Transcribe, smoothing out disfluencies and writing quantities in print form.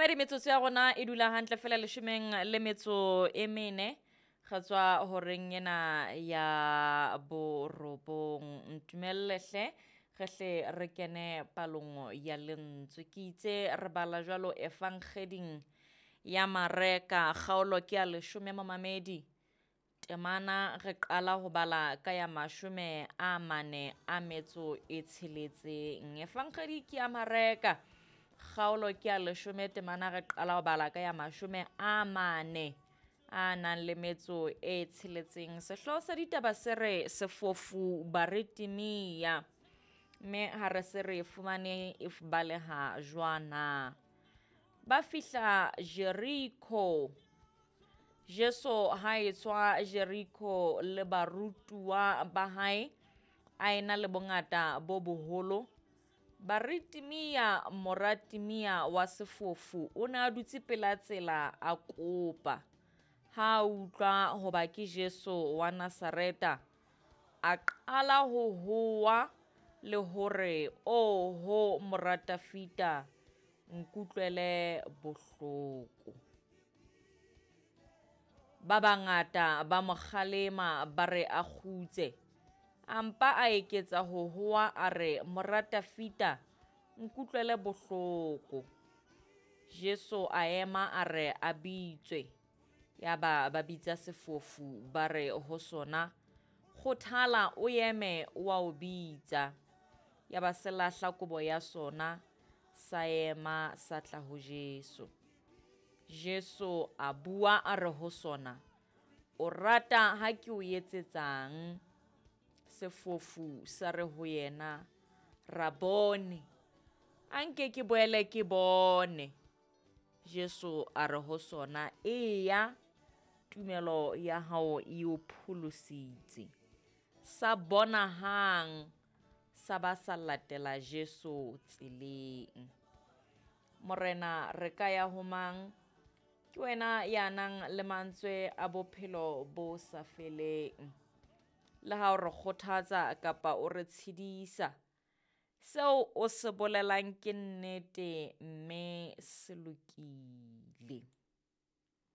Mamedi, metsotso ya rona e dula hantle fela leshomeng le metso e mene re tswa horeng ena ya borobong. Ntumelle hle re hle re kene palong ya lentswe. Ke itse re bala jwalo efankgeding ya Mareka kgaolo ke ya leshome momamedi. Temana re qala ho bala ka ya 46. Efankgedi ke ya Mareka kgaolo ke ya leshome temana re qala ho bala ka ya 46. Sehlooho sa ditaba se re sefofu Bartimea, mme ha re se re fumane e baleha jwana. Ba fihla Jeriko. Jesu ha etswa Jeriko le barutuwa ba hae a ena le bongata bo boholo. Bartimea mora Timea wa sefofu o ne a dutse pela tsela a kopa. Ha a utlwa hoba ke Jesu wa Nazareta, a qala ho hoa le hore, "Oho mora Dafita, nkutlwele bohloko." Ba bangata ba mo kgalema ba re a kgutse. A mpa a eketsa ho hoa a re, "Mora Dafita, nkutlwele bohloko." Jesu a ema a re a bitswe. Yaba ba bitsa sefofu ba re ho sona, "Kgothala o eme o a o bitsa." Yaba se lahla kobo ya sona, sa ema sa tla ho Jesu. Jesu a bua a re ho sona, "O rata ha ke o etsetsang?" Sefofu sa re ho yena, "Rabone, a nke ke boele ke bone." Jesu a re ho sona, "Eya, tumelo ya hao e o pholositse." Sa bona hang, sa ba sa latela Jesu tseleng. Morena, re ka ya ho mang? Ke wena ya nang le mantswe a bophelo bo sa feleng. Le ha o re kgothatsa kapa o re tshedisa, seo o se bolelang ke nnete mme se lokile.